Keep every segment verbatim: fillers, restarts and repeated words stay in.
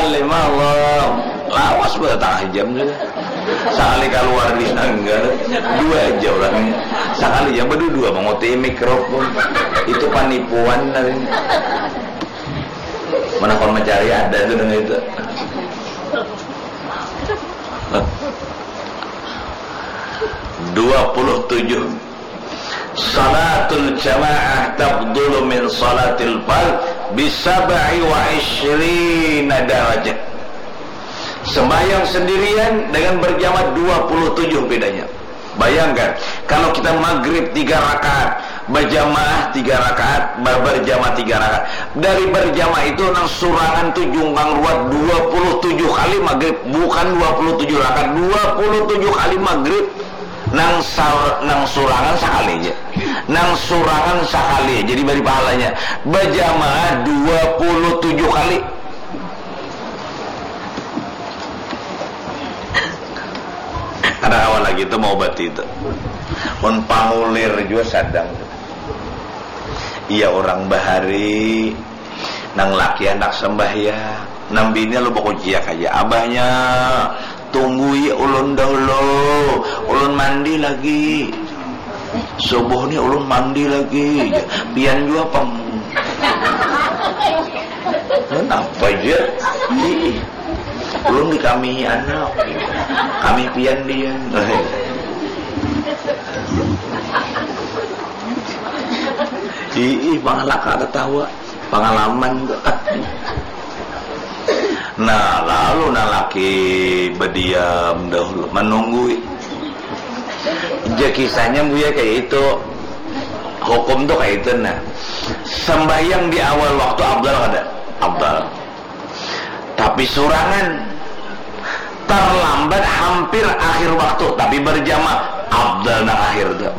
Lima Allah. Lawas buat tengah jam sudah. Sekali keluar di sanggar, dua aja orangnya. Sekali jam berdua menguti mikrofon. Itu penipuan namanya. Mana kau mencari ada tuh dengan itu. Dua puluh tujuh. Salatul jamaah tafdulu min salatil fard bi sab'i wa ishrina darajah. Sembahyang sendirian dengan berjamaah dua puluh tujuh bedanya. Bayangkan, kalau kita maghrib tiga rakaat, berjamaah tiga rakaat, ber-, berjamaah tiga rakaat. Dari berjamaah itu nang surangan tu jungkang ruat dua puluh tujuh kali maghrib, bukan dua puluh tujuh rakaat, dua puluh tujuh kali maghrib. Nang sar-, nang surangan sakali aja. Nang surangan sakali aja dibari pahalanya. Berjamaah dua puluh tujuh kali. Kada kawa lagi tu maubati tu. Mun pangulir jua sadang tu. Iya, urang bahari, nang laki handak sambahyang, nang bini lalu bakuciak haja. Abahnya, tunggui ulun dahulu, ulun mandi lagi. Subuh ni ulun mandi lagi. Pian jua pang. Napa ja? Ih, ulun dikamihi anak. Kamih pian dian. Ih, ih, pangalaka tatawa. Pangalaman tu. Nah, lalu nang laki badiam dahulu, manunggui. Ja kisahnya, Buya, kaya itu. Hukum tu kaya itu, nah. Sambahyang di awal waktu afdal kada? Afdal. Tapi surangan, terlambat hampir akhir waktu, tapi berjamaah, afdal nang akhir tu.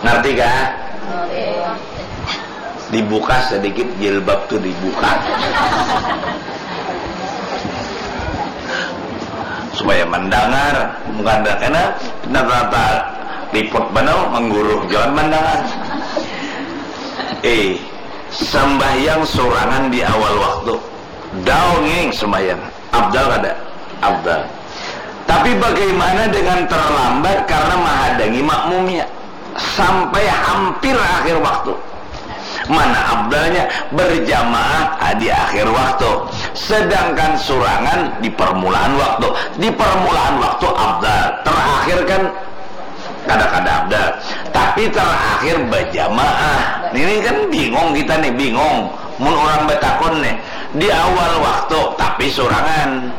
Ngerti kah? Dibuka sedikit jilbab tu, dibuka. Supaya mendengar, bukan kena nata-nata liput banar, mengguruh, jangan mendengar. Eh, sembahyang surangan di awal waktu, dongeng sembahyang. Afdal kada? Afdal. Tapi bagaimana dengan terlambat karena menghadangi makmumnya sampai hampir akhir waktu? Mana afdalnya? Berjamaah, ah, di akhir waktu. Sedangkan surangan di permulaan waktu. Di permulaan waktu afdal. Terakhir kan kada-kada afdal. Tapi terakhir berjamaah. Ini kan bingung kita nih, bingung. Mun orang batakun nih, di awal waktu tapi surangan,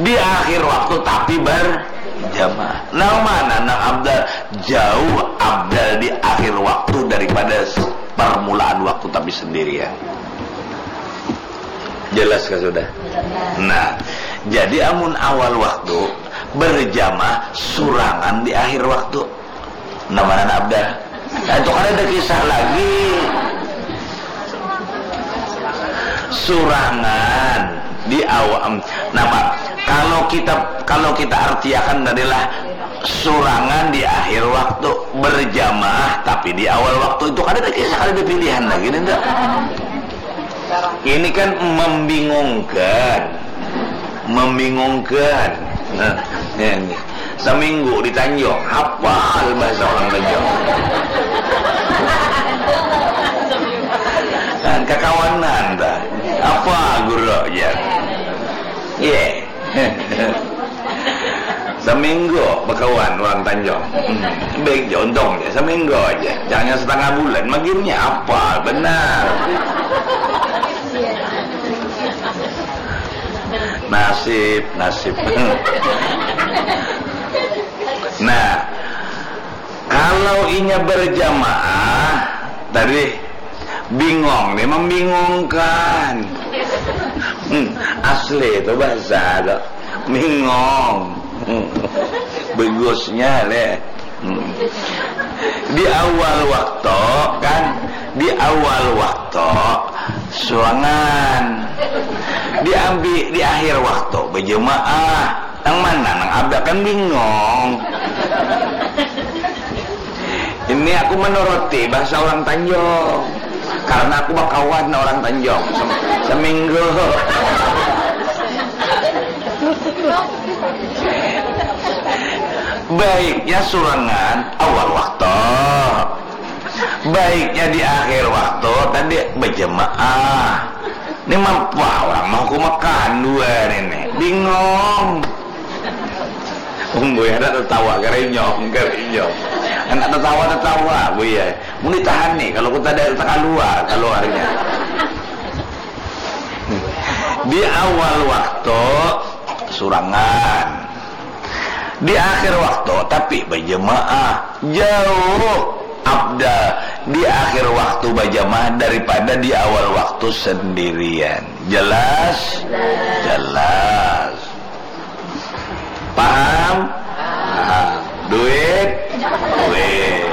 di akhir waktu tapi berjamaah. Nang mana nang afdal? Jauh afdal di akhir waktu daripada s-, permulaan waktu tapi sendirian. Jelas kah sudah? Nah, jadi amun awal waktu berjamaah, surangan di akhir waktu. Nah, mana nang afdal? Nah, itu kan ada kisah lagi. Surangan di awal. Napa? Kalau kita, kalau kita artiakan adalah surangan di akhir waktu, berjamaah tapi di awal waktu, itu kan ada kisah, ada pilihan lagi, nih, ndak? Ini kan membingungkan. Membingungkan. Nah, ini. Seminggu di Tanjung, hafal bahasa orang Tanjung. Nah, kakawanan dah. Apa guru aja? Ye. Seminggu bakawan orang Tanjung. Hmm. Baik ja, untung ja seminggu aja. Jangan setengah bulan, maginnya apa benar. Nasib, nasib. Nah, kalau inya berjamaah tadi, bingong nih, membingungkan. Hmm, asli itu bahasa tu. Bingong. Hmm. Begusnya leh. Hmm. Di awal waktu kan, di awal waktu suangan. Diambil di akhir waktu berjemaah. Nang mana nang abah kan bingong. Ini aku menuruti bahasa orang Tanjung. Karena aku bakawan orang Tanjung. Sem-, seminggu. Baiknya surangan awal waktu. Baiknya di akhir waktu tadi berjamaah. Ini mah, wah, orang mau ku makan dua ini. Bingung. Umbuy anak tertawa, kerenyong, kerenyong. Anak tertawa, tertawa, Buya. Mun ditahan nih, kalau kita dari keluar, keluarnya. Di awal waktu, surangan. Di akhir waktu, tapi berjemaah. Jauh abdal di akhir waktu berjamaah daripada di awal waktu sendirian. Jelas? Jelas. Paham? Paham. Duit? Duit.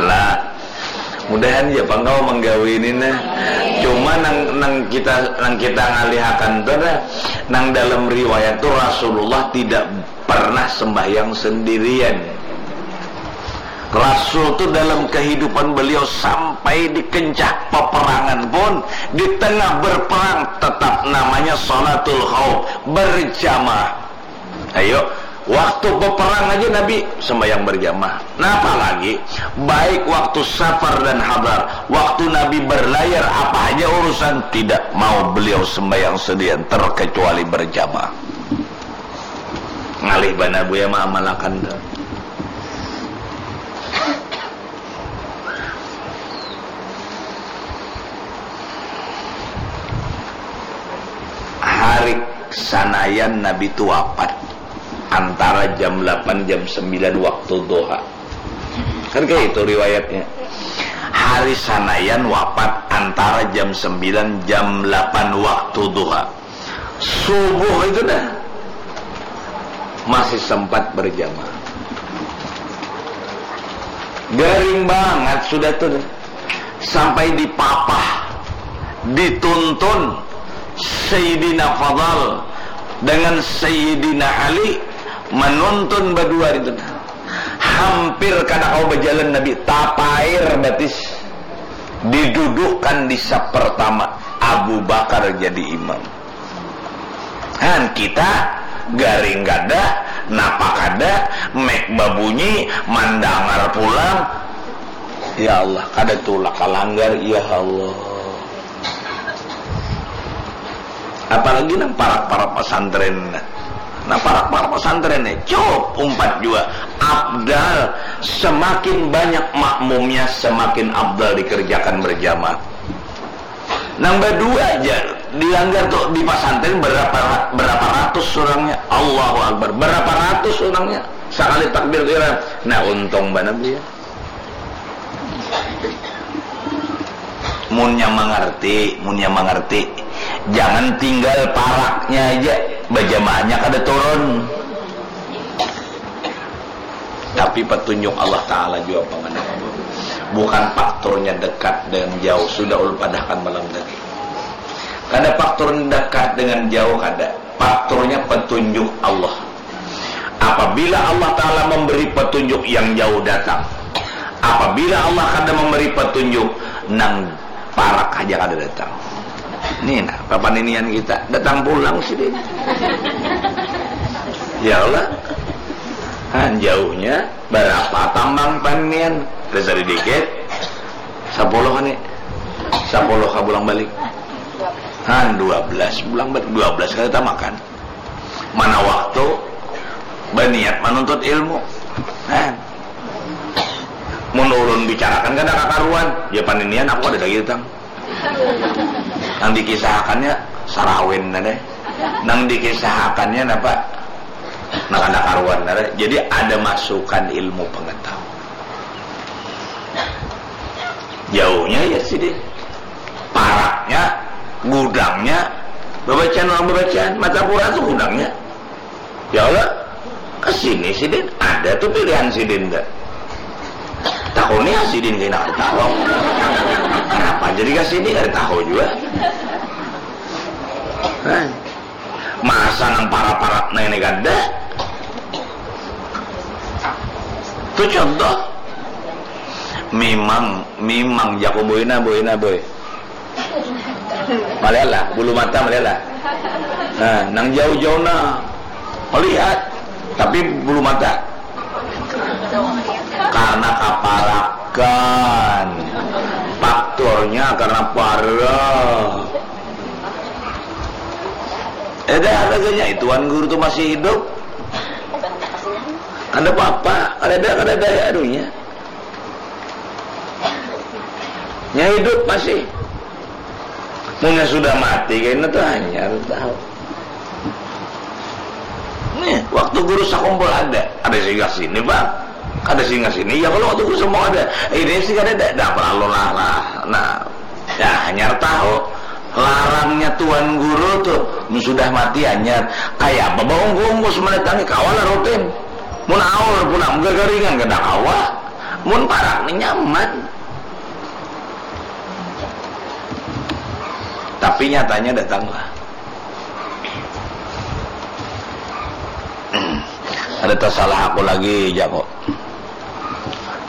Lah, mudahan ya pang kawa manggawi ini nah. Cuma nang, nang kita, nang kita ngalihakan tuh nah, nang dalam riwayat tuh Rasulullah tidak pernah sembahyang sendirian. Rasul tuh dalam kehidupan beliau sampai di kencah peperangan pun, di tengah berperang tetap namanya salatul khauf, berjamaah. Ayo, waktu peperang aja Nabi sembahyang berjamaah. Nah, apalagi baik waktu safar dan hadar, waktu Nabi berlayar apa aja urusan tidak mau beliau sembahyang sendirian terkecuali berjamaah. Ngalih banar Buya maamalakan tu. Hari Sanayan Nabi tu wapat antara jam lapan, jam sembilan waktu duha. Kan kayak itu riwayatnya. Hari Sanayan wapat antara jam sembilan, jam lapan waktu duha. Subuh itu dah masih sempat berjamaah. Garing banget sudah tuh. Sampai dipapah, dituntun Sayyidina Fadal dengan Sayyidina Ali menuntun berdua itu. Hampir kada kawa berjalan Nabi, tapair batis. Didudukkan di saf pertama, Abu Bakar jadi imam. Han, kita garing kada, napa kada, mic babunyi, mandangar pulang. Ya Allah, kada tulak kalanggar, ya Allah. Apalagi nang parak-parak pesantren. Nah, parak-parak pesantren nih, cup, umpat jua. Abdal, semakin banyak makmumnya, semakin abdal dikerjakan berjamaah. Nang badua aja dilanggar tuh di pasantren berapa, berapa ratus orangnya. Allahu Akbar. Berapa ratus orangnya. Sakali takbir tu iran. Nah, untung banar dia. Munnya mangarti, munnya mangarti. Jangan tinggal paraknya aja, bajamaahnya kada turun. Tapi petunjuk Allah Ta'ala jua pangana. Bukan faktornya dekat dan jauh, sudah ulun padahkan malam tadi. Kada faktor dekat dengan jauh, kada. Faktornya petunjuk Allah. Apabila Allah Ta'ala memberi petunjuk, yang jauh datang. Apabila Allah kada memberi petunjuk, nang parak aja kada datang. Nih nah, papaninian kita datang pulang sini. Ya Allah. Han, jauhnya berapa tambang paninian? Dasar dikit. Sepuluh nih. Sepuluh ka pulang balik. Han, dua belas pulang balik. Dua belas kada tamakan. Mana waktu baniat manuntut ilmu. Han. Mun ulun bicarakan kada kakaruan, ya paninian aku kada lagi datang. Nang dikisahakannya sarawin tadi. Nang dikisahakannya napa? Nang kada karuan tadi. Jadi ada masukan ilmu pengetahuan. Jauhnya ya sidin. Paraknya, gudangnya, babacaan orang babacaan. Martapura tu gudangnya. Ya Allah, ke sini sidin, ada tuh pilihan sidin dah. Takuni ya sidin kena tahu. Kenapa jadi ke sini kada tahu juga. Hah? Masa nang para-para nah ini kada. Itu contoh. Memang, memang jaku boina, boina, boy. Malihat lah, bulu mata malihat lah. Nah, nang jauh-jauh nah melihat, tapi bulu mata. Karena kaparakan. Faktornya karena parah. Ada harganya, Tuan Guru tuh masih hidup. Ada apa-apa, ada, ada, ada, anunya. Nya hidup masih. Munnya sudah mati, kena tuh hanyar tahu. Nih, waktu guru sakumpul ada, ada singgah sini, Bang. Ada singgah sini. Ya, kalau waktu guru semua ada, ini sih kada ada, ada apa lalu lah, lah. Nah, ya, hanyar tahu. Larangnya Tuan Guru tuh, mun sudah mati hanyar. Kayak apa baungkus mendatangi kawan lah rutin. Mun aur pulang, gagaringan kada kawa. Mun parak ni nyaman. Tapi nyatanya datanglah. Ada tersalah aku lagi, Joko.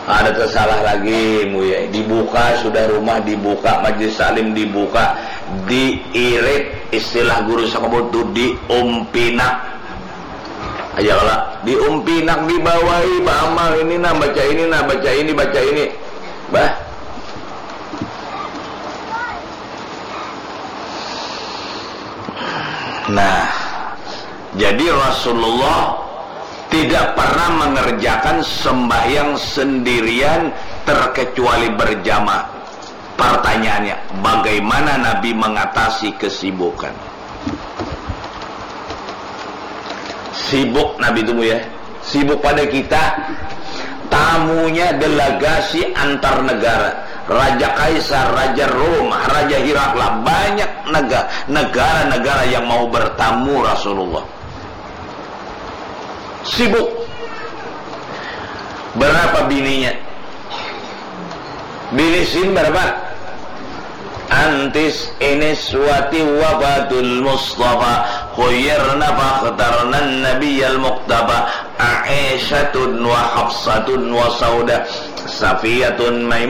Ada tersalah lagi, Muya. Dibuka sudah rumah, dibuka majlis salim, dibuka, diirit, istilah guru sakabut tu, diumpinak. Aja kala, diumpinak, dibawai, baamal ini nah, baca ini nah, baca ini, baca ini. Bah. Nah, jadi Rasulullah tidak pernah mengerjakan sembahyang sendirian terkecuali berjamaah. Pertanyaannya, bagaimana Nabi mengatasi kesibukan? Sibuk Nabi itu, ya. Sibuk pada kita. Tamunya delegasi antar negara. Raja Kaisar, Raja Rom, Raja Hirakla. Banyak nega-, negara-negara yang mau bertamu Rasulullah. Sibuk. Berapa bininya? Bini sin berapa? Antis inis wati wafatul Mustafa, khuyirna fakhtarna nabiyal muqtafa, Aisyatun wa Hafsatun wa Sauda, Safiyatun, Maimunah,